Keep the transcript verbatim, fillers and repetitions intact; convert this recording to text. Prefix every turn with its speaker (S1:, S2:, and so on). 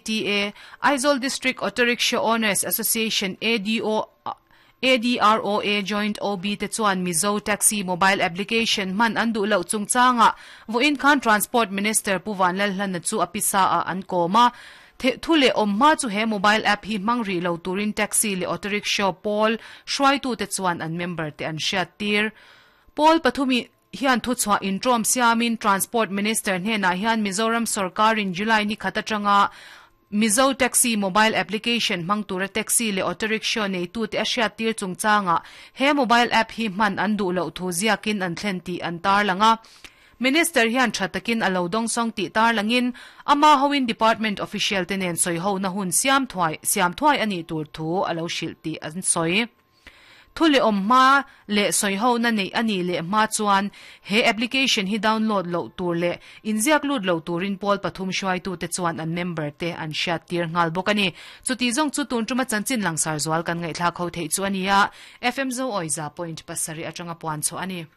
S1: A T A, Aizawl District Auto Rickshaw Owners Association A D O A D R O A Joint O B te chuan Mizo Taxi mobile application man an duh lo chungchanga vawiin khan Transport Minister Pu Vanlalhlana chu a pisa a an kawma thu le awm hma chu he mobile app hi hmang ri lo turin taxi le auto rickshaw pawl hruaitu te chuan an member te an hriat tir. Pawl pathumi hian thu chhuah intrawm siamin Transport Minister hnenah hian Mizoram sarkarin July ni khat atanga Mizo Taxi mobile application hmang tura taxi le auto rickshaw nei tu te a hriat tir chungchanga he mobile app hi hman an duh lo thu ziakin an thlen ti an tar langa. Minister hian thatakin alo dong song ti tar langin ama hoin department official te nen soi ho na hun siam thuai siam thuai ani tur thu alo hril ti an soi. Thu le om ma le soi ho na nei ani le ma chuan he application hi download lo tur le inziak lut lo turin pawl pathum hruai tu te chuan an member te an hriat tir ngal bawk ani. Chuti zong chu tun tuma chanchin langsar zual kan ngai thla kho thei chu ania. F M Zo Oiza point pasari atanga puan chu ani.